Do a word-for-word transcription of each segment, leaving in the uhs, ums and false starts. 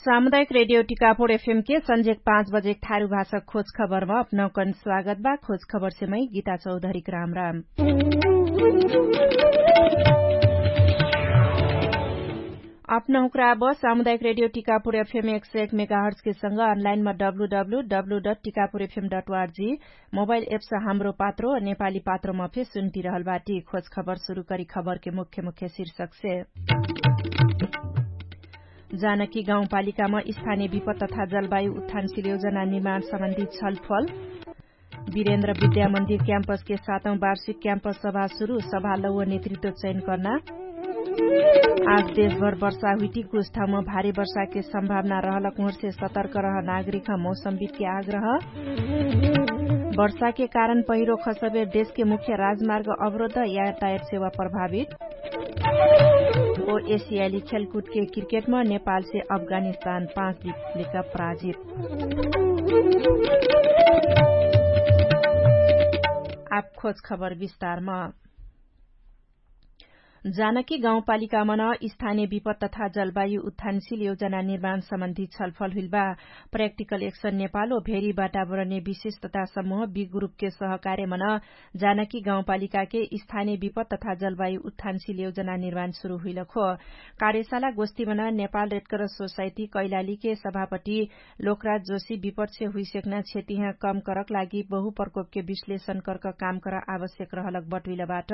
सामुदायिक रेडियो टिकापुर एफएम के सन्झेक पाँच बजेक थारु भाषक खोज खबरमा अपनौकन स्वागत बा। खोज खबरसे मै गीता चौधरीक राम राम। अपनौकरा अब सामुदायिक रेडियो टिकापुर एफएम एक सय एक मेगाहर्जके सँग अनलाइनमा W W W dot Tikapur FM dot O R G mobile apps Hamro Patro नेपाली पात्रोमा फे सुन्टिरहल बाटी। खोज खबर सुरु करी खबरके मुख्य मुख्य शीर्षकसे। जानकी गाउँपालिकामा स्थानीय विपद तथा जलवायु उत्थानशील योजना निर्माण सम्बन्धी छलफल। वीरेन्द्र विद्यामन्दिर क्याम्पसके सातौं वार्षिक क्याम्पस सभा सुरु सभा लौव नेतृत्व चयन कर्ना। आज देशभर वर्षा हुइटी कुछ ठाउँमा भारी वर्षाके सम्भावना रहलक उहर्से सतर्क रह नागरिक मौसमविदके आग्रह। वर्षाके कारण पहिरो खसबेर देशके मुख्य राजमार्ग अवरोध यातायात सेवा प्रभावित। ओ एसियाली खेलकुदके क्रिकेटमा नेपालसे अफगानिस्तान पाँच विकेट लेका पराजित। आप खोज खबर विस्तारमा। जानकी गाउँपालिकामन स्थानीय विपद तथा जलवायु उत्थानशील योजना निर्माण सम्बन्धी छलफल हुइलबा। प्राक्टिकल एक्सन नेपाल ओ भेरी वातावरणीय विशेष तथा समूह बी ग्रुपके सहकार्यमन जानकी गाउँपालिकाके स्थानीय विपद तथा जलवायु उत्थानशील योजना निर्माण सुरु हुइलक हो। कार्यशाला गोष्ठीमन नेपाल रेडक्रस सोसाइटी कैलालीके सभापति लोकराज जोशी विपदसे हुइसेक्ना क्षतिहाँ कम करक लागि बहुप्रकोपके विश्लेषण करक काम कर आवश्यक रहलक बटुइलबाट।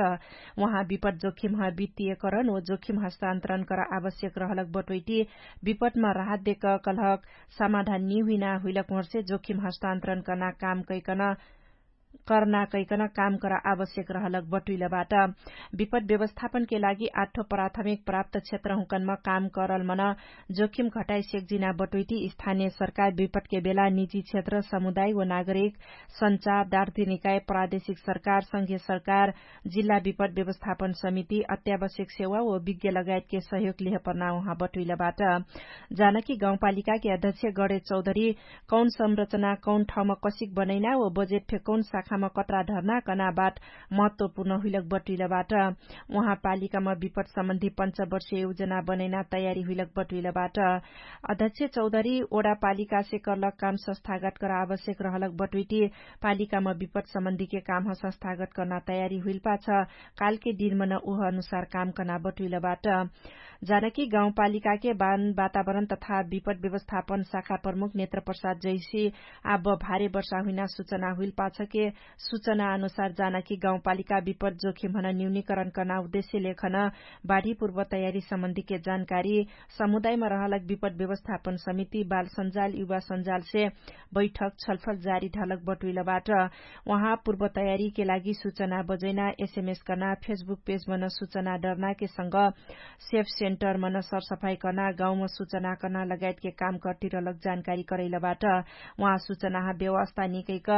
उहाँ विपद जोखिमह वित्तीयकरण ओ जोखिम हस्तान्तरण कर आवश्यक रहलक बटुइटी विपदमा राहत देक कलहक समाधान निहुइना हुइलक उहर्से जोखिम हस्तान्तरण कर्ना काम कैकन कर्ना कैकन काम कर आवश्यक रहलक बटुइलबाट। विपद व्यवस्थापनके लागि आठो प्राथमिक प्राप्त क्षेत्रहुँकनमा काम करलमन जोखिम घटाइ सेक्जिना बटुइटी स्थानीय सरकार विपदके बेला निजी क्षेत्र समुदाय व नागरिक सञ्चार दार्जिनिकाय प्रादेशिक सरकार संघीय सरकार जिल्ला विपद व्यवस्थापन समिति अत्यावश्यक सेवा व विज्ञ लगायतके सहयोग लिहपर्ना उहाँ बटुइलबाट। जानकी गाउँपालिकाके अध्यक्ष गणे चौधरी कौन संरचना कौन ठाउँमा कसिक बनैना व बजेट फे कौन शाखामा कत्रा ढर्ना कना बाट महत्वपूर्ण हुइलक बटुइलबाट। उहाँ पालिकामा विपद सम्बन्धी पञ्चवर्षीय योजना बनैना तयारी हुइलक बटुइलबाट। अध्यक्ष चौधरी ओडा पालिकासे कर्लक काम संस्थागत कर आवश्यक रहलक बटुइटी पालिकामा विपद सम्बन्धीके कामह संस्थागत कर्ना तयारी हुइलपाछ कालके दिनमन उह अनुसार काम कर्ना बटुइलबाट। जानकी गाउँपालिकाके बान वातावरण तथा विपद व्यवस्थापन शाखा प्रमुख नेत्र प्रसाद जैसी आब भारे वर्षा हुइना सुचना हुइलपाछके सुचना अनुसार जानकी गाउँपालिका विपद जोखिमहन न्यूनीकरण कर्ना उद्देश्य लेखन बाढी पूर्व तयारी सम्बन्धीके जानकारी समुदायमा रहलक विपद व्यवस्थापन समिति बाल सञ्जाल युवा सञ्जालसे बैठक छलफल जारी ढलक बटुइलबाट। उहाँ पूर्व तयारीके लागि सुचना बजैना एसएमएस कर्ना फेसबुक पेजमन सुचना डर्नाके सँग सेफ सेन्टरमन सरसफाई कर्ना गाउँम सुचना कर्ना लगायतके काम कर्तिरलक जानकारी करैलबाट। उहाँ सुचनाह व्यवस्था निकैक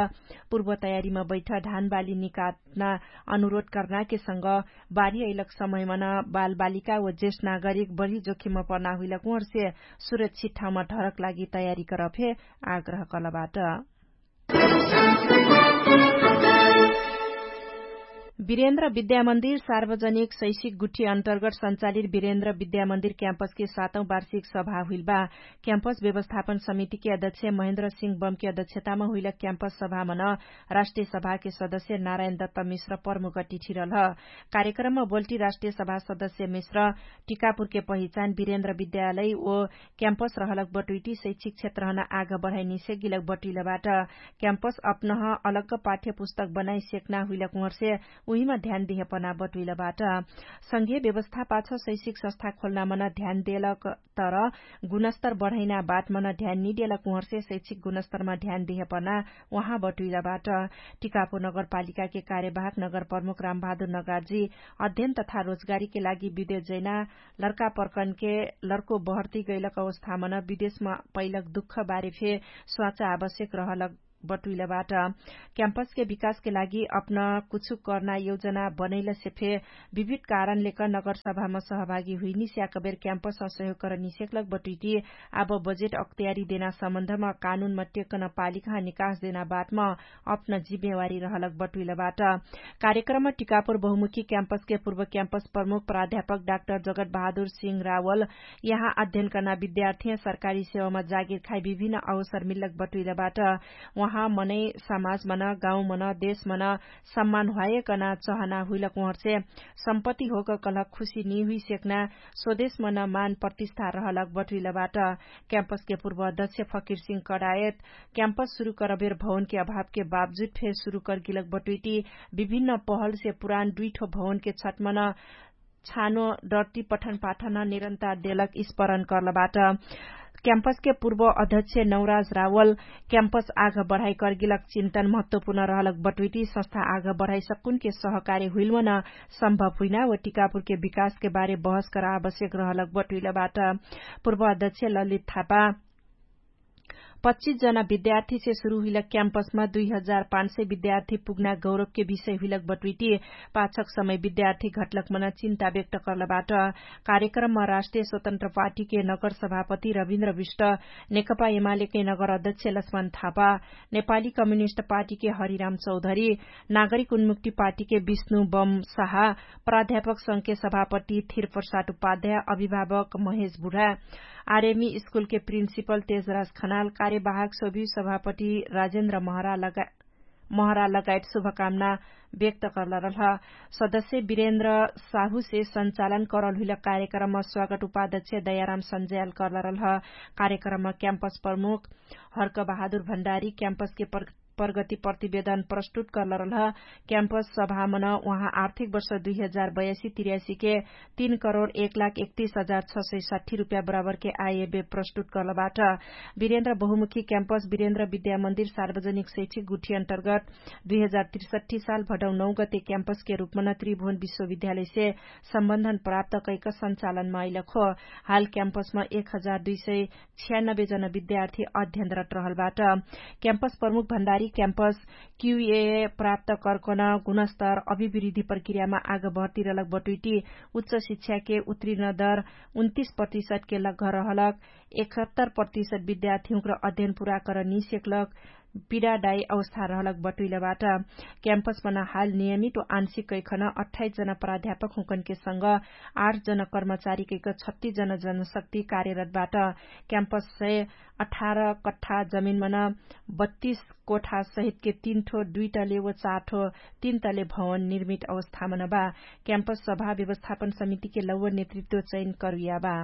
पूर्व तयारीम बैठ धानबाली निकाट्ना अनुरोध कर्नाके सँग बारी अइलक समयमन बालबालिका व जेष्ठ नागरिक बढी जोखिम पर्ना हुइलक उहर्से सुरक्षित ठाउँमा ढरक लागि तयारी करफे आग्रह कलबाट। वीरेन्द्र विद्यामन्दिर सार्वजनिक शैक्षिक गुठी अन्तर्गत सञ्चालित वीरेन्द्र विद्यामन्दिर क्याम्पसके सातौं वार्षिक सभा हुइलबा। क्याम्पस व्यवस्थापन समितिके अध्यक्ष महेन्द्र सिंह बमके अध्यक्षतामा हुइलक क्याम्पस सभामन राष्ट्रिय सभाके सदस्य नारायण दत्त मिश्र प्रमुख अतिथिरल। कार्यक्रममा बोल्टी राष्ट्रिय सभा सदस्य मिश्र टिकापुरके पहिचान वीरेन्द्र विद्यालय ओ क्याम्पस रहलक बटुइटी शैक्षिक क्षेत्रहन आग बढाइ निसेगिलक बटुइलबाट। क्याम्पस अपनह अलग्ग पाठ्यपुस्तक बनाइ सेक्ना हुइलक उहर्से उहिमा ध्यान दिहेपना बटुइलबाट। संघीय व्यवस्था पाछ शैक्षिक संस्था खोल्नामन ध्यान देलक तर गुणस्तर बढैना बाटमन ध्यान निदेलक उहर्से शैक्षिक गुणस्तरमा ध्यान दिहेपना उहाँ बटुइलबाट। टिकापुर नगरपालिकाके कार्यवाहक नगरप्रमुख रामबहादुर नगार्जी अध्ययन तथा रोजगारीके लागि विदेश जैना लर्कापर्कनके लर्को बहर्ती गैलक अवस्थामन विदेशमा पैलक दुःख बारे फे स्वाचा आवश्यक रहलक बटुइलबाट क्याम्पसके विकासके लागि अपना कुछु कर्ना योजना बनैलसे फे विविध कारणलेक नगरसभामा सहभागी हुइनिस्याकबेर क्याम्पस असहयोग करनिसेकलक बटुइटी आब बजेट अक्तियारी देना सम्बन्धमा कानुनमा टेक्कन पालिकाह निकास देना बाटमा अपना जिम्मेवारी रहलक बटुइलबाट। कार्यक्रममा टिकापुर बहुमुखी क्याम्पसके पूर्व क्याम्पस प्रमुख प्राध्यापक डाक्टर जगत बहादुर सिंह रावल यहाँ अध्ययन कर्ना विद्यार्थीह सरकारी सेवामा जागिर खाइ विभिन्न अवसर मिल्लक बटुइलबाट। उहाँ मनै समाज मन गाउँ मन देश मन सम्मान ह्वायकन चहना हुइलक उहर्से सम्पत्ति होक कलक खुशी निहुइसेक्ना स्वदेश मन मान प्रतिष्ठा रहलक बटुइलबाट। क्याम्पसके पूर्व अध्यक्ष फकिरसिंह कडायत क्याम्पस सुरु करबेर भवनके अभावके बावजुद फेर सुरु करगिलक बटुइटी विभिन्न पहलसे पुरान दुइठो भवनके छटमन छानो डर्ती पठनपाठन निरन्तर देलक स्परण कर्लबाट। क्याम्पसके पूर्व अध्यक्ष नौराज रावल क्याम्पस आघ बढाइ कर्गिलक चिन्तन महत्वपूर्ण रहलक बटुइटी संस्था आघ बढाइ सक्कुनके सहकार्य हुइलमन सम्भव हुइना व टिकापुरके विकासके बारे बहस कर आवश्यक रहलक बटुइलबाट। पूर्व अध्यक्ष ललित थापा पच्चिस जना विद्यार्थीसे सुरु हुइलक क्याम्पसमा दुई हजार पाँच सय विद्यार्थी पुग्ना गौरवके विषय हुइलक बटुइटी पाछक समय विद्यार्थी घटलक मन चिन्ता व्यक्त कर्लबाट। कार्यक्रममा राष्ट्रिय स्वतन्त्र पार्टीके नगर सभापति रविन्द्र विष्ट, नेकपा एमालेके नगर अध्यक्ष लक्ष्मण थापा, नेपाली कम्युनिस्ट पार्टीके हरिराम चौधरी, नागरिक उन्मुक्ति पार्टीके विष्णु बम साहा, प्राध्यापक संघके सभापति थिरप्रसाद उपाध्याय, अभिभावक महेश बुढा, आरएमई स्कुलके प्रिन्सिपल तेजराज खनाल, कार्यवाहक सोभि सभापति राजेन्द्र महरा लगायत शुभकामना व्यक्त कर्लरलह। सदस्य वीरेन्द्र साहुसे सञ्चालन करल हुइल कार्यक्रममा स्वागत उपाध्यक्ष दयाराम सञ्जयाल कर्लरलह। कार्यक्रममा क्याम्पस प्रमुख हर्क बहादुर भण्डारी क्याम्पसके प्रगति प्रतिवेदन प्रस्तुत कर्लरलह। क्याम्पस सभामन उहाँ आर्थिक वर्ष दुई हजार बयासी तिर्यासीके तीन करोड एक लाख एकतीस हजार छ सय साठी रुप्या बराबरके आयबे प्रस्तुत कर्लबाट। वीरेन्द्र बहुमुखी क्याम्पस वीरेन्द्र विद्यामन्दिर सार्वजनिक शैक्षिक गुठी अन्तर्गत दुई हजार त्रिसठी साल भडौ नौ गते क्याम्पसके रूपमन त्रिभुवन विश्वविद्यालयसे सम्बन्धन प्राप्त कैक सञ्चालनमा अइलक हो। हाल क्याम्पसमा एक हजार दुई सय छियानब्बे जन विद्यार्थी अध्ययनरत रहलबाट। क्याम्पस प्रमुख भण्डारी क्याम्पस क्युए प्राप्त कर्कन गुणस्तर अभिवृद्धि प्रक्रियामा आग भर्तिरलक बटुइटी उच्च शिक्षाके उत्रिर्ण दर उन्तिस प्रतिशतके लग्घ रहलक एकहत्तर प्रतिशत विद्यार्थीहुँक्र अध्ययन पुरा करनिसेक्लक पिडाडाई अवस्था रहलक बटुइलबाट। क्याम्पसमन हाल नियमित व आंशिक कैखन अठाइस जना प्राध्यापक हुँकनके संग आठ जना कर्मचारी कैक छत्तीस जना जनशक्ति कार्यरतबाट। क्याम्पस सय अठार कठ्ठा जमिनमन बत्तीस कोठा सहितके तीन ठो दुई तले व चार ठो तीन तले भवन निर्मित अवस्थामन बा। क्याम्पस सभा व्यवस्थापन समितिके लौव नेतृत्व चयन करुया बा।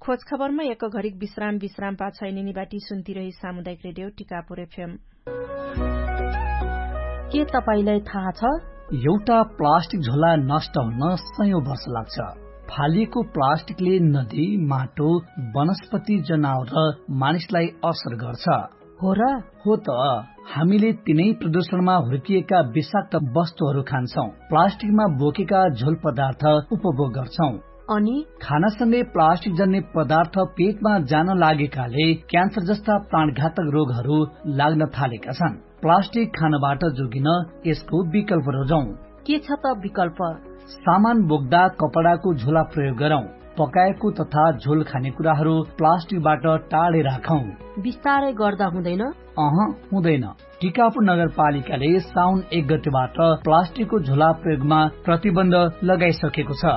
खोजखबरमा एक घडिक विश्राम विश्राम पाछैनिनी बाटी सुन्तिरही सामुदायिक रेडियो टिकापुर एफएम। के तपाईंलाई थाहा छ? एउटा प्लास्टिक झोला नष्ट हुन सयौं वर्ष लाग्छ। फालिएको प्लास्टिकले नदी, माटो, वनस्पति, जनावर र मानिसलाई असर गर्छ। हो र? हो त। हामीले तिनै प्रदूषणमा हुर्किएका विषाक्त वस्तुहरू खान्छौं। प्लास्टिकमा बोकेका झोल पदार्थ उपभोग गर्छौं। अनि खानासँगै प्लास्टिक जन्ने पदार्थ पेटमा जान लागेकाले क्यान्सर जस्ता प्राणघातक रोगहरू लाग्न थालेका छन्। प्लास्टिक खानबाट जोगिन यसको विकल्प रोजौं। के छ त विकल्प? सामान बोक्दा कपडाको झोला प्रयोग गरौं। पकाएको तथा झोल खाने कुराहरू प्लास्टिकबाट टाढे राखौं। बिस्तारै गर्दा हुँदैन? अह, हुँदैन। टिकापुर नगरपालिकाले साउन एक गतेबाट प्लास्टिकको झोला प्रयोगमा प्रतिबन्ध लगाइसकेको छ।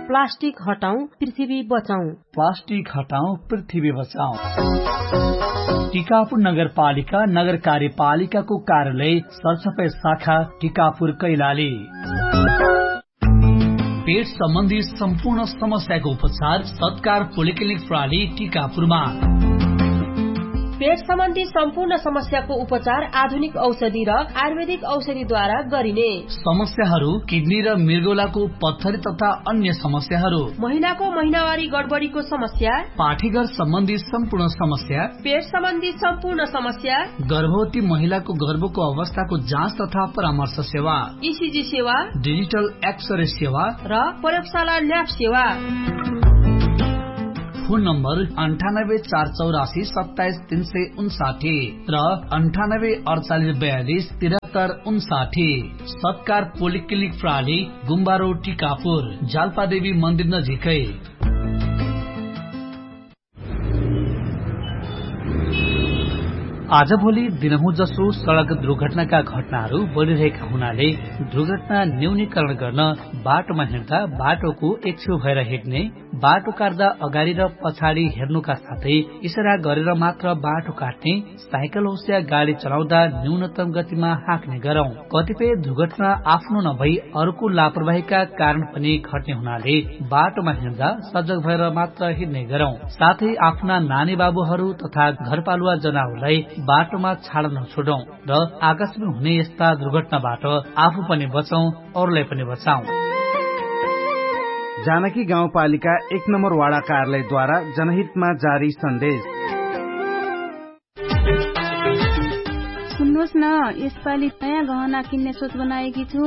प्लास्टिक हटाउँ, पृथ्वी बचाउँ। प्लास्टिक हटाउँ, पृथ्वी बचाउँ। टिकापुर नगरपालिका, नगर कार्यपालिकाको कार्यालय, सरसफाइ शाखा, टिकापुर, कैलाली। पेट सम्बन्धी सम्पूर्ण समस्याको उपचार सत्कार पोलिक्लिनिक प्रणाली टिकापुरमा। पेट सम्बन्धी सम्पूर्ण समस्याको उपचार आधुनिक औषधि र आयुर्वेदिक औषधिद्वारा गरिने। समस्याहरू किडनी र मृगौलाको पत्थरी तथा अन्य समस्याहरू। महिलाको महिनावारी गडबडीको समस्या। पाठीघर सम्बन्धी सम्पूर्ण समस्या। पेट सम्बन्धी सम्पूर्ण समस्या। गर्भवती महिलाको गर्भको अवस्थाको जाँच तथा परामर्श सेवा। इसिजी सेवा। डिजिटल एक्सरे सेवा। र प्रयोगशाला ल्याब सेवा। फोन नम्बर अन्ठानब्बे चार चौरासी सत्ताइस तीन सय उन्साठी र अन्ठानब्बे अडचालिस बयालिस तिरहत्तर उन्साठी। सत्कार पोलिक्लिनिक प्राली गुम्बारो टिकापुर जाल्पादेवी मन्दिर नजिकै। आजभोलि दिनहुँ जसो सडक दुर्घटनाका घटनाहरू बढिरहेका हुनाले दुर्घटना न्यूनीकरण गर्न बाटोमा हिँड्दा बाटोको एकछेउ भएर हिँड्ने, बाटो काट्दा अगाडि र पछाडि हेर्नुका साथै इसारा गरेर मात्र बाटो काट्ने, साइकल होस्या गाडी चलाउँदा न्यूनतम गतिमा हाँक्ने गरौँ। कतिपय दुर्घटना आफ्नो नभई अरूको लापरवाहीका कारण पनि घट्ने हुनाले बाटोमा हिँड्दा सजग भएर मात्र हिँड्ने गरौँ। साथै आफ्ना नानी बाबुहरू तथा घरपालुवा जनावरलाई बाटोमा छाडन छोडौँ र आकाशमा हुने यस्ता दुर्घटनाबाट आफू पनि बचौँ, अरूलाई पनि बचाउँ। जानकी गाउँपालिका एक नम्बर वाडा कार्यालयद्वारा जनहितमा जारी सन्देश। सुन्नुहोस् न, यसपालि नयाँ गहना किन्ने सोच बनाएकी छु।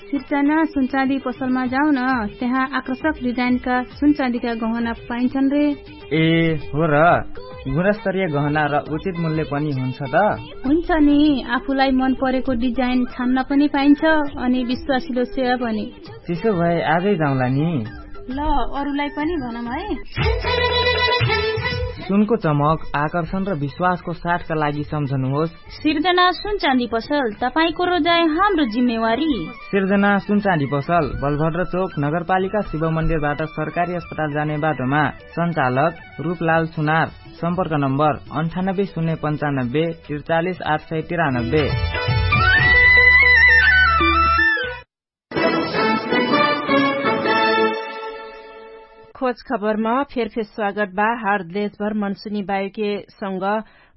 सिर्जना सुनचाँदी पसलमा जाउन, त्यहाँ आकर्षक डिजाइनका सुनचाँदीका गहना पाइन्छन् रे। ए हो र, गुणस्तरीय गहना र उचित मूल्य पनि हुन्छ त? हुन्छ नि, आफूलाई मन परेको डिजाइन छान्न पनि पाइन्छ, अनि विश्वासिलो सेवा पनि। त्यसो भए आजै जाउँला नि। ल, अरूलाई पनि भनौँ है। सुनको चमक, आकर्षण र विश्वासको साथका लागि सम्झनुहोस्। सिर्जना सुनचाँदी पसल, तपाईंको रोजाइ हाम्रो जिम्मेवारी। सिर्जना सुनचाँदी पसल, बलभद्र चोक, नगरपालिका शिव मन्दिरबाट सरकारी अस्पताल जाने बाटोमा। सञ्चालक रूपलाल सुनार। सम्पर्क नम्बर अन्ठानब्बे शून्य पन्चानब्बे त्रिचालिस आठ सय तिरानब्बे। खोज खबरमा फेरफेर स्वागत बा। हार देशभर मनसुनी वायुके संग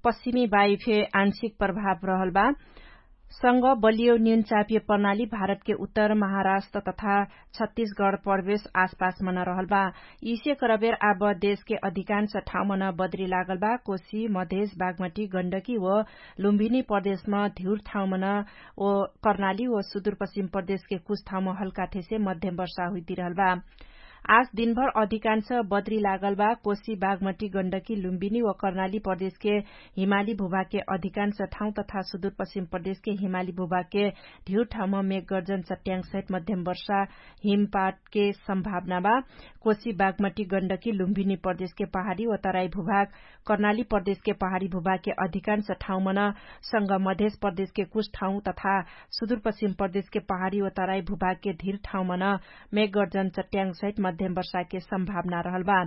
पश्चिमी वायुफे आंशिक प्रभाव रहल बा। संग बलियो न्यून चापिय प्रणाली भारतके उत्तर महाराष्ट्र तथा छत्तीसगढ प्रवेश आसपासमन रहल बा। यिसे करबेर आब देशके अधिकांश ठाउँमन बद्री लागल बा। कोशी मधेश बागमटी गण्डकी व लुम्भिनी प्रदेशम धिउर ठाउँमन व कर्णाली व सुदुरपश्चिम प्रदेशके कुछ ठाउँम हल्काथेसे मध्यम वर्षा हुइतिरहल बा। आज दिनभर अधिकांश बद्री लागल बा। कोशी बागमटी गण्डकी लुम्बिनी व कर्णाली प्रदेशके हिमाली भूभागके अधिकांश ठाउँ तथा सुदुरपश्चिम प्रदेशके हिमाली भूभागके धिउर ठाउँम मेघगर्जन चट्याङसहित मध्यम वर्षा हिमपाटके सम्भावना बा। कोशी बागमटी गण्डकी लुम्बिनी प्रदेशके पहाडी व तराई भूभाग कर्णाली प्रदेशके पहाडी भूभागके अधिकांश ठाउँमन संग मधेश प्रदेशके कुछ ठाउँ तथा सुदुरपश्चिम प्रदेशके पहाडी व तराई भूभागके धिर ठाउँमन मेघगर्जन चट्याङसहित मध्यम वर्षाके सम्भावना रहल बा।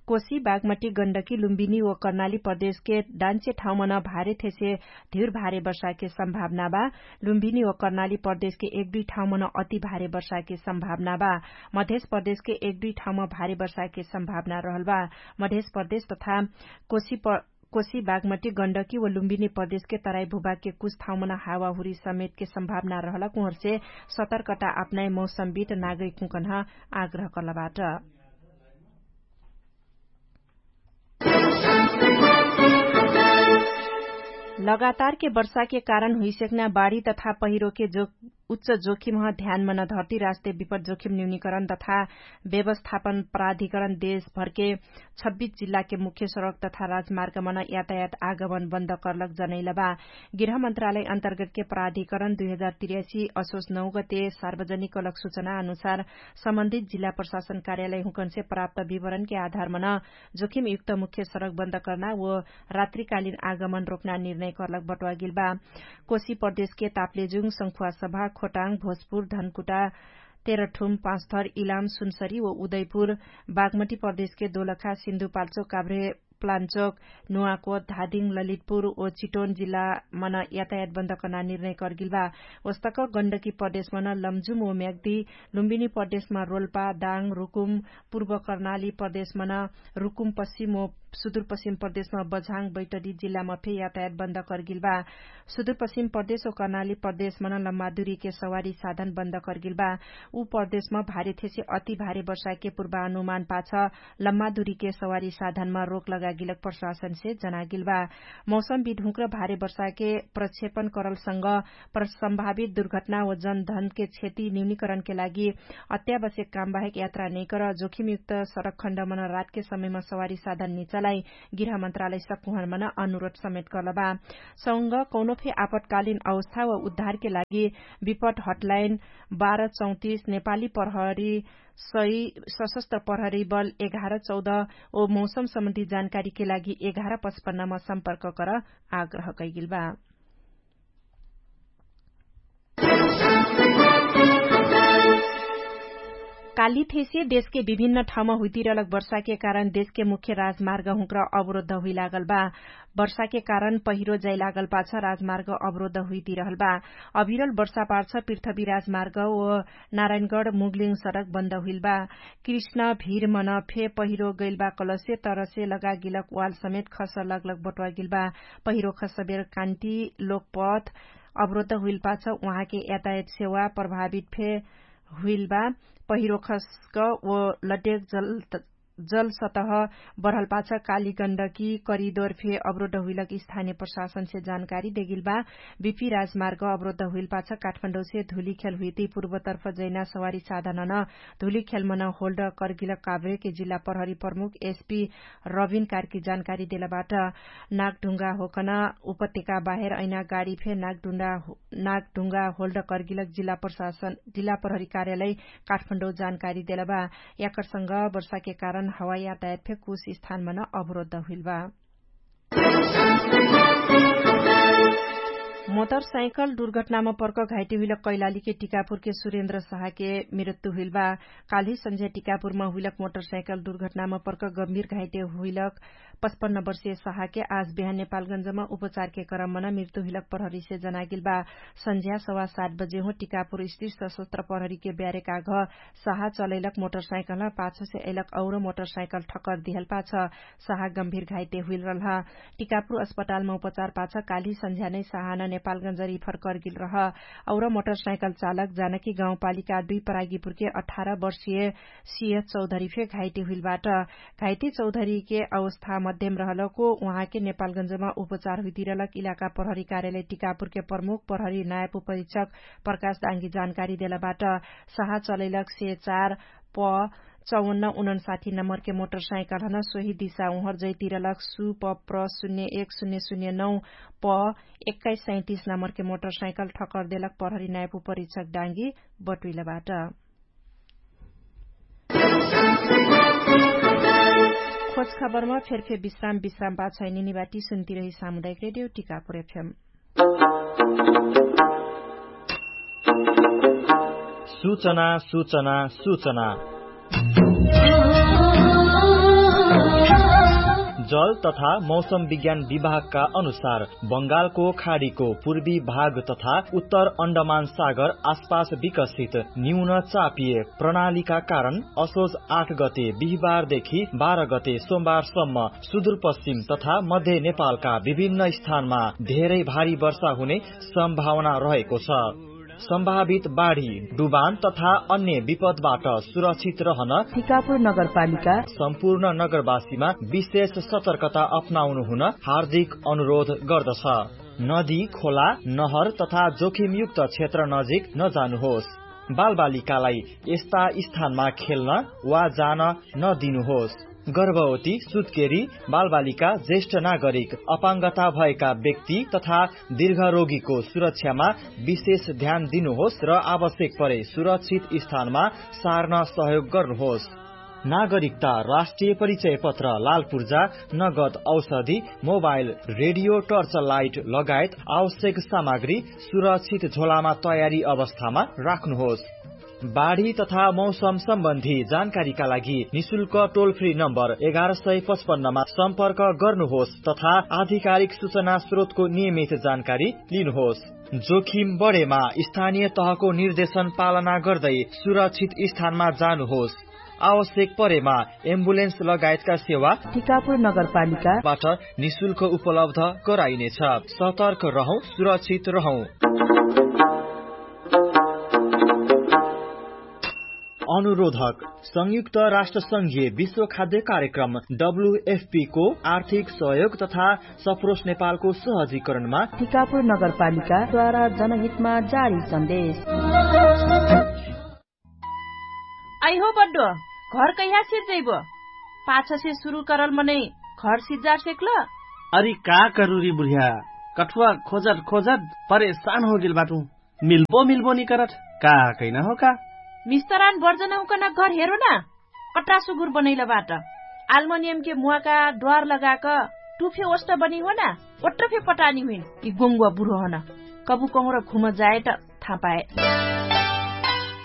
कोशी बागमटी गण्डकी लुम्बिनी व कर्णाली प्रदेशके डान्चे ठाउँमन भारे थेसे धिर भारे वर्षाके सम्भावना बा। लुम्बिनी व कर्णाली प्रदेशके एक दुई ठाउँमन अति भारे वर्षाके सम्भावना बा। मधेश प्रदेशके एक दुई ठाउँम भारे वर्षाके सम्भावना रहल बा। मधेश प्रदेश तथा कोशी बागमटी गण्डकी व लुम्बिनी प्रदेशके तराई भूभागके कुछ ठाउँमन हावाहुरी समेतके सम्भावना रहलक उहर्से सतर्कता अपनाइ मौसमवित नागरिक हुँकन्ह आग्रह कर्लबाट। लगातारके वर्षाके कारण हुइसेक्ना बाढी तथा पहिरोके जो उच्च जोखिमह ध्यानमन धर्ती राष्ट्रिय विपट जोखिम न्यूनिकरण तथा व्यवस्थापन प्राधिकरण देशभरके छब्बिस जिल्लाके मुख्य सडक तथा राजमार्गमन यातायात आगमन बन्द कर्लक जनैलबा। गृह मन्त्रालय अन्तर्गतके प्राधिकरण दुई हजार तिर्यासी असोस नौगते सार्वजनिक कलक सुचना अनुसार सम्बन्धित जिल्ला प्रशासन कार्यालय हुँकन्से प्राप्त विवरणके आधारमन जोखिमयुक्त मुख्य सडक बन्द कर्ना व रात्रिकालिन आगमन रोक्ना निर्णय कर्लक बट्वागिलबा। कोशी प्रदेशके ताप्लेजुङ संखुवासभा खोटाङ भोजपुर धनकुटा तेरठुम पाँचथर इलाम सुनसरी व उदयपुर बागमटी प्रदेशके दोलखा सिन्धुपाल्चोक काभ्रे प्लान्चोक नुवाकोट धादिङ ललितपुर व चिटोन जिल्लामन यातायात बन्द कर्ना निर्णय कर्गिलबा। वस्तक गण्डकी प्रदेशमन लम्जुम व म्याग्दी लुम्बिनी प्रदेशमा रोल्पा दाङ रुकुम पूर्व कर्णाली प्रदेशमन रुकुम पश्चिम व सुदुरपश्चिम प्रदेशमा बझाङ बैटरी जिल्लामा फे यातायात बन्द कर्गिलबा। सुदुरपश्चिम प्रदेश व कर्णाली प्रदेशमन लम्मादुरीके सवारी साधन बन्द कर्गिलबा। उ प्रदेशमा भारे थेसे अति भारे वर्षाके पूर्वानुमान पाछ लम्मादुरीके सवारी साधनमा रोक लगाए गिलक प्रशासनसे जनागिल बा। मौसम विधुँक्र भारे वर्षाके प्रक्षेपण करलसँग सम्भावित दुर्घटना व जनधनके क्षति न्यूनिकरणके लागि अत्यावश्यक कामबाहेक यात्रा नैकर जोखिमयुक्त सडकखण्डमन रातके समयमा सवारी साधन निचलाई गृह मन्त्रालय सकुहनमन अनुरोध समेत करलबा। सँग कौनो फे आपतकालिन अवस्था व उद्धारके लागि विपट हटलाइन बाह्र चौतिस नेपाली प्रहरी सही सशस्त्र प्रहरी बल एघार चौध ओ मौसम सम्बन्धी जानकारीके लागि एघार पचपन्नमा सम्पर्क कर आग्रह कैगिल बा। काली फेसे देशके विभिन्न ठाउँमा हुइतिरलक वर्षाके कारण देशके मुख्य राजमार्ग हुँक्र अवरोध हुइलागल बा। वर्षाके कारण पहिरो जाइलागल पाछ राजमार्ग अवरोध हुइतिरहल बा। अभिरल वर्षा पाछ पृथ्वी राजमार्ग ओ नारायणगढ मुगलिङ सडक बन्द हुइल बा। कृष्ण भीर मन फे पहिरो गैल बा कलसे तरसे लगागिलक वाल समेत खस लगलग बटुवागिल बा। पहिरो खसबेर कान्ति लोकपथ अवरोध हुइल पाछ उहाँके यातायात सेवा प्रभावित फे हुइल बा। पहिरो खस्क ओ लड्डेक जल जल सतह बढल पाछ काली गण्डकी करिदोर फे अवरोध हुइलक स्थानीय प्रशासनसे जानकारी देगिल बा। बिपी राजमार्ग अवरोध हुइल पाछ काठमाडौसे धुली खेल हुइती पूर्वतर्फ जैना सवारी साधनन धुली खेलमन होल्ड कर्गिलक काभ्रेके जिल्ला प्रहरी प्रमुख एसपी रविन कार्की जानकारी देलबाट। नागढुङ्गा होकन उपत्यका बाहेर ऐना गाडी फे नागढुङ्गा होल्ड कर्गिलक जिल्ला प्रहरी कार्यालय काठमाडौँ जानकारी देलबा। याकरसँग वर्षाके कारण हवाई यातायात फे कुछ स्थानमन अवरोध हुइलबा। मोटरसाइकल दुर्घटनामा पर्क घाइटे हुइलक कैलालीके टिकापुरके सुरेन्द्र साहके मृत्यु हुइलबा। काल्हि सन्झ्या टिकापुरमा हुइलक मोटरसाइकल दुर्घटनामा पर्क गम्भीर घाइटे हुइलक पचपन्न वर्षीय साहके आज बिहान नेपालगन्जमा उपचारके क्रममा न मृत्यु हुइलक प्रहरीसे जनागिलबा। सन्झ्या सवा सात बजे हो टिकापुर स्थिर सशस्त्र प्रहरीके ब्यारेका घ साहा चलैलक मोटरसाइकलमा पाछसे अइलक औरो मोटरसाइकल ठक्कर दिहल पाछ साहा गम्भीर घाइटे हुइल रहलह। टिकापुर अस्पतालमा उपचार पाछ काल्हि सन्झ्या नै साहा न नेपालगन्ज रिफर कर्गिल रह। औरो मोटरसाइकल चालक जानकी गाउँपालिका दुई परागिपुरके अठार वर्षीय सिय चौधरी फे घाइटे हुइलबाट। घाइते चौधरीके अवस्था मध्यम रहलको उहाँके नेपालगन्जमा उपचार हुइतिरलक इलाका प्रहरी कार्यालय टिकापुरके प्रमुख प्रहरी नायब उपरीक्षक प्रकाश डाङ्गी जानकारी देलबाट। साहा चलैलक से चार प चौवन्न उनन्साठी नम्बरके मोटरसाइकल हन सोही दिशा उहर जैतिरलक सु प प्र शून्य एक शून्य शून्य नौ प एक्काइस सैतिस नम्बरके मोटरसाइकल ठक्कर देलक प्रहरी नायब उपरीक्षक डाङ्गी बटुइलबाट। खोज खबरमा फेरफेर विश्राम विश्राम बाछै निनिबाटी सुन्तिरही सामुदायिक रेडियो टिकापुर एफएम। सूचना सूचना सूचना। जल तथा मौसम विज्ञान विभागका अनुसार बंगालको खाडीको पूर्वी भाग तथा उत्तर अण्डमान सागर आसपास विकसित न्यून चापिय प्रणालीका कारण असोज आठ गते बिहिबारदेखि बाह्र गते सोमबारसम्म सुदूरपश्चिम तथा मध्य नेपालका विभिन्न स्थानमा धेरै भारी वर्षा हुने सम्भावना रहेको छ। सम्भावित बाढी डुबान तथा अन्य विपदबाट सुरक्षित रहन टिकापुर नगरपालिका सम्पूर्ण नगरवासीमा विशेष सतर्कता अपनाउनु हुन हार्दिक अनुरोध गर्दछ। नदी खोला नहर तथा जोखिमयुक्त क्षेत्र नजिक नजानुहोस्। बालबालिकालाई यस्ता स्थानमा खेल्न वा जान नदिनुहोस्। गर्भवती सुत्केरी बालबालिका ज्येष्ठ नागरिक अपाङ्गता भएका व्यक्ति तथा दीर्घरोगीको सुरक्षामा विशेष ध्यान दिनुहोस् र आवश्यक परे सुरक्षित स्थानमा सार्न सहयोग गर्नुहोस्। नागरिकता राष्ट्रिय परिचय पत्र लालपुर्जा नगद औषधि मोबाइल रेडियो टर्च लाइट लगायत आवश्यक सामग्री सुरक्षित झोलामा तयारी अवस्थामा राख्नुहोस्। बाढी तथा मौसम सम्बन्धी जानकारीका लागि निशुल्क टोल फ्री नम्बर एघार सय पचपन्नमा सम्पर्क गर्नुहोस् तथा आधिकारिक सूचना स्रोतको नियमित जानकारी लिनुहोस्। जोखिम बढेमा स्थानीय तहको निर्देशन पालना गर्दै सुरक्षित स्थानमा जानुहोस्। आवश्यक परेमा एम्बुलेन्स लगायतका सेवा टिकापुर नगरपालिकाबाट निशुल्क उपलब्ध गराइनेछ। सतर्क रहौं, सुरक्षित रहौं। अनुरोधक संयुक्त राष्ट्र संघीय विश्व खाद्य कार्यक्रम डब्ल्युएफपी को आर्थिक सहयोग तथा सप्रोस नेपालको सहजीकरणमा टिकापुर नगरपालिकाद्वारा जनहितमा जारी सन्देश। अइहो बड्डो, घर कैहा सिर्जैबो? पाछसे सुरु करल मनै घर सिर्जार सेक्ल? अरि का करुरी बुढिया, कठुवा खोजत खोजत परेशान होगेल बाटु। मिल्बो मिल्बो निकरत, का कैना हो का? मिस्तरान बर्जन हुकन घर हेरो ना। कट्रा सुगुर बनैल बाट। आल्मोनियमके मुवाका द्वार लगाक टुफे ओष्ट बनी हो ना। ओट्रफे पटानी हुइन कि गोङ्गुवा बुढो हन। कबु कहुँर घुम जाए त थापाए।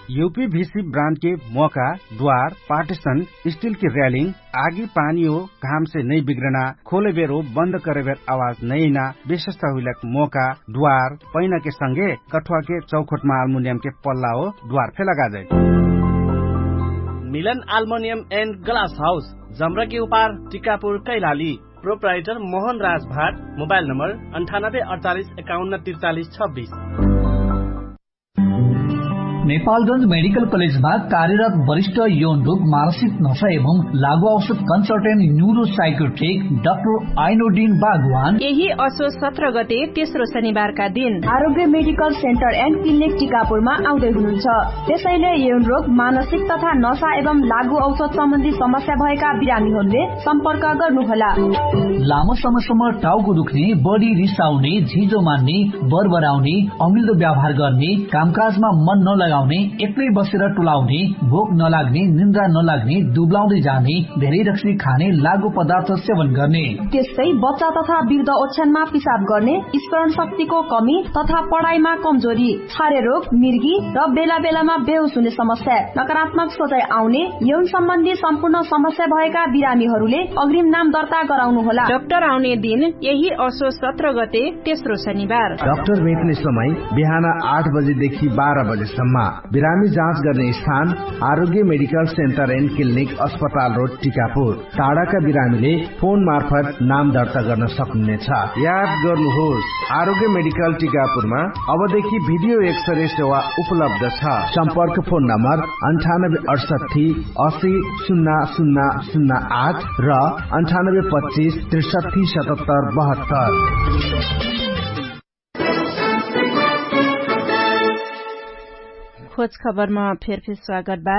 युपी भिसी ब्रान्डके मोका द्वार पार्टिसन स्टिलके र्यालिङ आगी पानी हो घामसे नै बिग्रना खोलेबेर हो बन्द करेबेर आवाज नैना विशेषता हुइलक मोका द्वार पैनाके संगे कठुवाके चौखोटमा आल्मुनियमके पल्ला हो द्वार फे लगाजै। मिलन आल्मोनियम एन्ड ग्लास हाउस जम्रकी उपार टिकापुर कैलाली। प्रोप्राइटर मोहन राज भाट। मोबाइल नम्बर अन्ठानब्बे अडचालिस एकाउन्न त्रिचालिस छब्बिस। नेपालगञ्ज मेडिकल कलेजमा कार्यरत वरिष्ठ यौन रोग मानसिक नशा एवं लागु औषध कन्सल्टेन्ट न्युरोसाइकोट्रिक डाक्टर आइनोडिन बागवान यही असो सत्र गते तेस्रो शनिबारका दिन आरोग्य मेडिकल सेन्टर एन्ड क्लिनिक टिकापुरमा आउँदै हुनुहुन्छ। त्यसैले यौन रोग मानसिक तथा नशा एवं लागु औषध सम्बन्धी समस्या भएका बिरामीहरूले सम्पर्क गर्नुहोला। लामो समयसम्म टाउको दुख्ने, बढी रिसाउने, झिजो मान्ने, बरबराउने, अमिल्दो व्यवहार गर्ने, कामकाजमा मन नलगाउने, एक्लै बसेर टुलाउने, भोक नलाग्ने, निन्द्रा नलाग्ने, दुब्लाउँदै जाने, धेरै रक्सी खाने, लागु पदार्थ सेवन गर्ने, त्यस्तै बच्चा तथा वृद्ध ओछ्यानमा पिसाब गर्ने, स्मरण शक्तिको कमी तथा पढाइमा कमजोरी, छारे रोग, मिर्गी र बेला बेलामा बेहोस हुने समस्या, नकारात्मक सोचाइ आउने, यौन सम्बन्धी सम्पूर्ण समस्या भएका बिरामीहरूले अग्रिम नाम दर्ता गराउनु होला। डाक्टर आउने दिन यही असो सत्र गते तेस्रो शनिबार। डाक्टर भेट्ने समय बिहान आठ बजेदेखि बाह्र बजेसम्म। बिरामी जाँच गर्ने स्थान आरोग्य मेडिकल सेन्टर एन्ड क्लिनिक अस्पताल रोड टिकापुर। टाढाका बिरामीले फोन मार्फत नाम दर्ता गर्न सक्नुहुनेछ। याद गर्नुहोस्, आरोग्य मेडिकल टिकापुरमा अबदेखि भिडियो एक्सरे सेवा उपलब्ध छ। सम्पर्क फोन नम्बर अन्ठानब्बे अडसट्ठी असी सुन्ना सुन्ना सुन्ना आठ र अन्ठानब्बे पच्चिस त्रिसट्ठी सतहत्तर बहत्तर। खोज खबरमा फेरफेर स्वागत बा।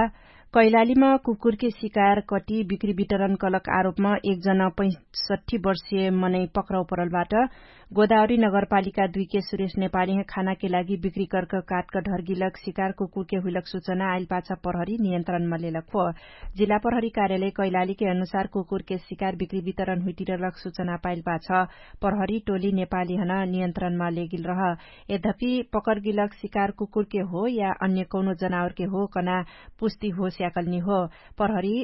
कैलालीमा कुकुरके शिकार कटी बिक्री वितरण कलक आरोपमा एकजना पैसठी वर्षीय मनै पक्राउ परलबाट। गोदावरी नगरपालिका दुईके सुरेश नेपालीह खानाके लागि बिक्री कर्क काटक ढर्गिलक शिकार कुकुरके हुइलक सुचना आइलपाछ प्रहरी नियन्त्रणमा लेलक हो। जिल्ला प्रहरी कार्यालय कैलालीके अनुसार कुकुरके शिकार बिक्री वितरण हुइटिरलक सुचना पाइलपाछ प्रहरी टोली नेपालीहन नियन्त्रणमा लेगिल रह। यद्यपि पकरगिलक शिकार कुकुरके हो या अन्य कौनो जनावरके हो कना पुष्टि हो स्याकलनी हो। प्रहरी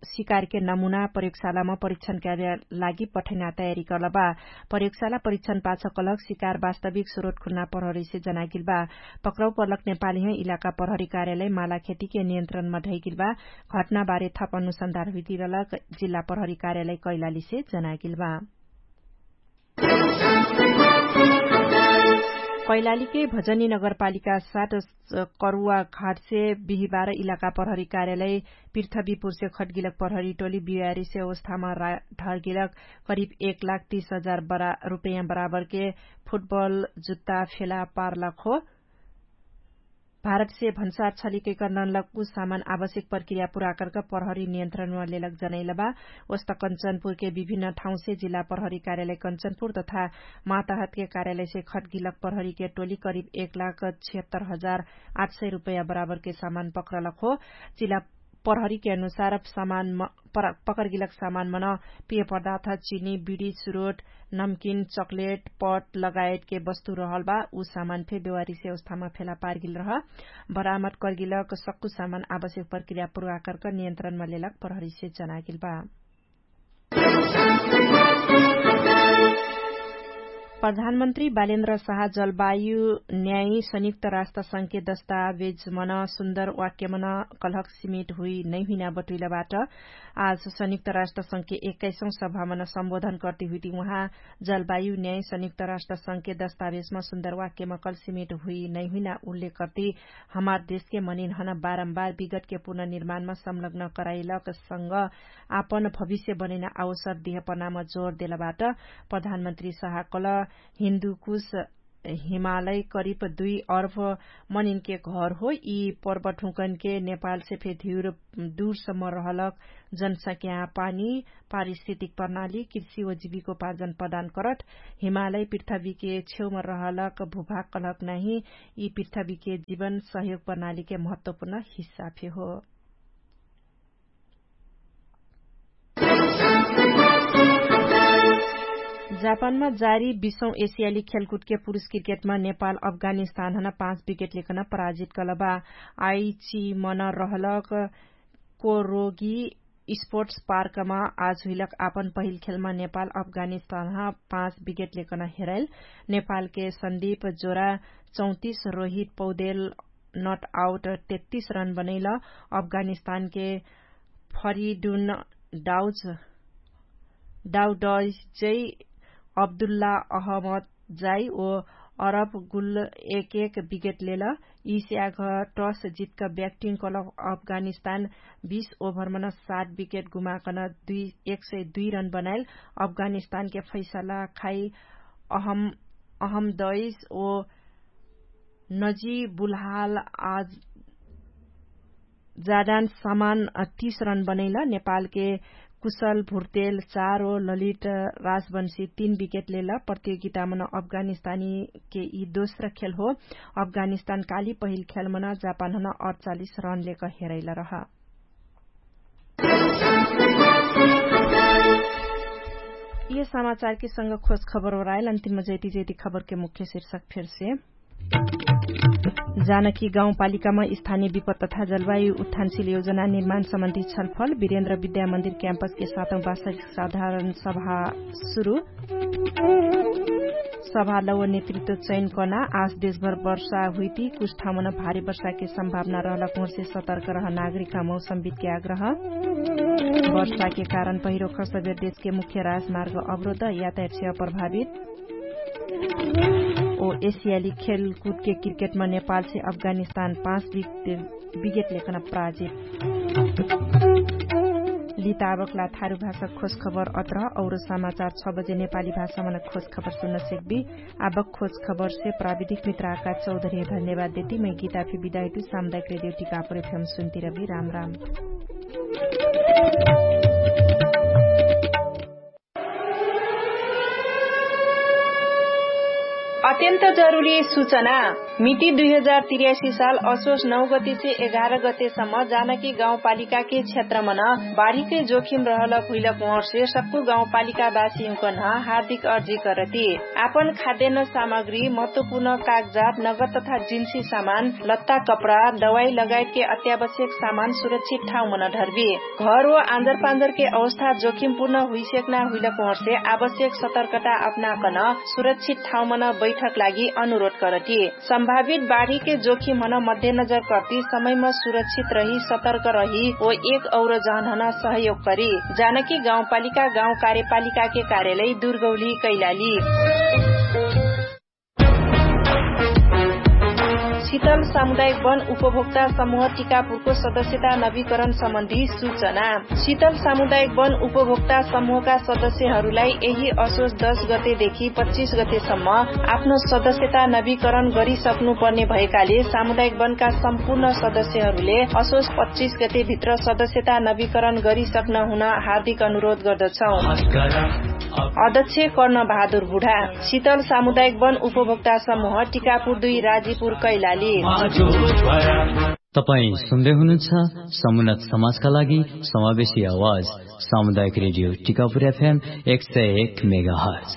शिकारके नमुना प्रयोगशालामा परीक्षणका लागि पठैना तयारी कलबा। प्रयोगशाला परीक्षण पाछ कलक शिकार वास्तविक स्रोत खुन्ना प्रहरीसे जनागिलबा। पक्रौ पर्लक नेपालीह इलाका प्रहरी कार्यालय मालाखेतीके नियन्त्रणमा धैगिलबा। घटनाबारे थप अनुसन्धार हुइतिरलक जिल्ला प्रहरी कार्यालय कैलालीसे जनागिलबा। कैलालीके भजनी नगरपालिका सात करुवा घाटसे बिहिबार इलाका प्रहरी कार्यालय पृथ्वीपुरसे खटगिलक प्रहरी टोली बिहारीसे अवस्थामा ढर्गिलक करिब एक लाख तीस हजार रुपैयाँ बराबरके फुटबल जुत्ता फेला पारलक हो। भारतसे भन्सार छलिकैकर्नलक उ सामान आवश्यक प्रक्रिया पुराकर्क प्रहरी नियन्त्रणमा लेलक जनैलबा। ओस्त कन्चनपुरके विभिन्न ठाउँसे जिल्ला प्रहरी कार्यालय कन्चनपुर तथा माताहतके कार्यालयसे खटगिलक प्रहरीके टोली करिब एक लाख छिहत्तर हजार आठ सय रुपैयाँ बराबरके सामान पक्रलक हो। जिल्ला प्रहरीके अनुसार सामान पकरगिलक सामान मन पिय पदार्थ चिनी बिडी सुरोट नमकिन चकलेट पट लगायतके वस्तु रहलबा। उ सामान फे बेवारीसे अवस्थामा फेला पारगिल रह। बरामत करगिलक सक्कु सामान आवश्यक प्रक्रिया पुराकर्क नियन्त्रणमा लेलक प्रहरीसे जनागिलबा। प्रधानमन्त्री बालेन्द्र साहा जलवायु न्यायी संयुक्त राष्ट्र संघके दस्तावेजमन सुन्दर वाक्यमन कलहक सिमेट हुइ नैहुइना बटुइलबाट। आज संयुक्त राष्ट्र संघके एक्काइसौं सभामन सम्बोधन कर्ति हुइति उहाँ जलवायु न्यायी संयुक्त राष्ट्र संघके दस्तावेजम सुन्दर वाक्यम कलसिमेट हुइ नैहुइना उल्लेख कर्ति हमार देशके मनिनहन बारम्बार विगतके पुनर्निर्माणम संलग्न कराइलक संग आपन भविष्य बनैना अवसर दिहपनाम जोर देलबाट। प्रधानमन्त्री साहाकल हिन्दुकुश हिमालय करिब दुई अर्भ मनिनके घर हो। यी पर्वठुकनके नेपालसे फे धिउर दुरसम्म रहलक जनसंख्या पानी पारिस्थितिक प्रणाली कृषि व जिविकोपार्जन प्रदान करत हिमालय पृथ्वीके छेउम रहलक भुभाग कलहक नाहि यी पृथ्वीके जिवन सहयोग प्रणालीके महत्वपुर्ण हिस्सा फे हो। जापानमा जारी बिसौं एसियाली खेलकुदके पुरुष क्रिकेटमा नेपाल अफगानिस्तानहन पाँच विकेट लेकन पराजित कलबा। आइचिमन रहलक कोरोगी स्पोर्ट्स पार्कमा आज हुइलक आपन पहिल खेलमा नेपाल अफगानिस्तानह पाँच विकेट लेकन हेराइल। नेपालके सन्दीप जोरा चौतिस रोहित पौदेल नट आउट तेत्तिस रन बनैल। अफगानिस्तानके फरिडुन डाउज डाउडजै अब्दुल्ला अहमद जाई ओ अरब गुल एक एक विकेट लेल। यि स्याघ टस जितक ब्याक्टिङ कलक अफगानिस्तान बीस ओभरमन सात विकेट गुमाकन एक सय दुई रन बनाइल। अफगानिस्तानके फैसला खाइ अहमदैस ओ नजी बुलहाल आज जादान समान तीस रन बनैल। नेपालके कुशल भुर्तेल चार ओ ललित राजवंशी तीन विकेट लेल। प्रतियोगितामन अफगानिस्तानीके यि दोस्र खेल हो। अफगानिस्तान काली पहिल खेलमन जापानहन अठचालिस रन लेक हेरैल रह। यि समाचारके संग खोज खबर ओराइल अन्तिम जैति जैति खबरके मुख्य शिर्षक फेरसे। जानकी गाउँपालिकामा स्थानीय विपद तथा जलवायु उत्थानशील योजना निर्माण सम्बन्धी छलफल। विरेन्द्र विद्यामन्दिर क्याम्पसके सातौं वास्तविक साधारण सभा सुरु। सभा लव नेतृत्व चयन कर्ना आज देशभर वर्षा हुइती कुछ ठाउँमन भारी वर्षाके सम्भावना रहलक हुँरसे सतर्क रह नागरिकमा मौसमविदके आग्रह। वर्षाके कारण पहिरो खसबेर देशके मुख्य राजमार्ग अवरोध यातायात सेवा प्रभावित। ओ एसियाली खेलकुदके क्रिकेटमा नेपालसे अफगानिस्तान पाँच विकेट लेकन पराजित। लिताबकला थारु भाषा खोज खबर अत्र और समाचार छ बजे नेपाली भाषामा खोज खबर सुन्न सेक्बी। आबक खोज खबरसे प्राविधिक मित्राका चौधरी धन्यवाद देती मै गीता फि बिदाइतु सामुदायिक रेडियो टिकापुर एफएम सुन्ती रबी राम राम। अत्यन्त जरुरी सुचना। मिति दुई हजार तिर्यासी साल असोस नौ गतिसे एघार गतेसम्म जानकी गाउँपालिकाके क्षेत्रमन बाढीकै जोखिम रहलक हुइलक उहर्से सक्कु गाउँपालिकावासीहुँकन हार्दिक अर्जी करती। आपन खाद्यान्न सामग्री महत्वपुर्ण कागजात नगद तथा जिन्सी सामान लत्ता कपडा दवाई लगायतके अत्यावश्यक सामान सुरक्षित ठाउँमन ढर्बी। घर व आन्जरपान्जरके अवस्था जोखिमपुर्ण हुइसेक्ना हुइलक उहर्से आवश्यक सतर्कता अपनाकन सुरक्षित ठाउँमन बैठक लागि अनुरोध करती। सम्भावित बाढीके जोखिमहन मध्यनजर कर्ती समयम सुरक्षित रही सतर्क रही ओ एक और जहनहन सहयोग करी। जानकी गाउँपालिका गाउँ कार्यपालिकाके कार्यालय दुर्गौली कैलाली। सितल सामुदायिक वन उपभोक्ता समुह टिकापुरको सदस्यता नवीकरण सम्बन्धी सुचना। सितल सामुदायिक वन उपभोक्ता समुहका सदस्यहरूलाई यही असोस दश गतेदेखि पच्चिस गतेसम्म आफ्नो सदस्यता नवीकरण गरिसक्नुपर्ने भएकाले सामुदायिक वनका सम्पूर्ण सदस्यहरूले असोस पच्चिस गतेभित्र सदस्यता नवीकरण गरिसक्न हुन हार्दिक अनुरोध गर्दछौँ। अध्यक्ष कर्णबहादुर बुढा। सितल सामुदायिक वन उपभोक्ता समुह टिकापुर दुई राजीपुर कैलाली। तपाईँ सुन्दै हुनुहुन्छ समुन्नत समाजका लागि समावेशी आवाज सामुदायिक रेडियो टिकापुर एफएम एक सय एक मेगाहर्ज।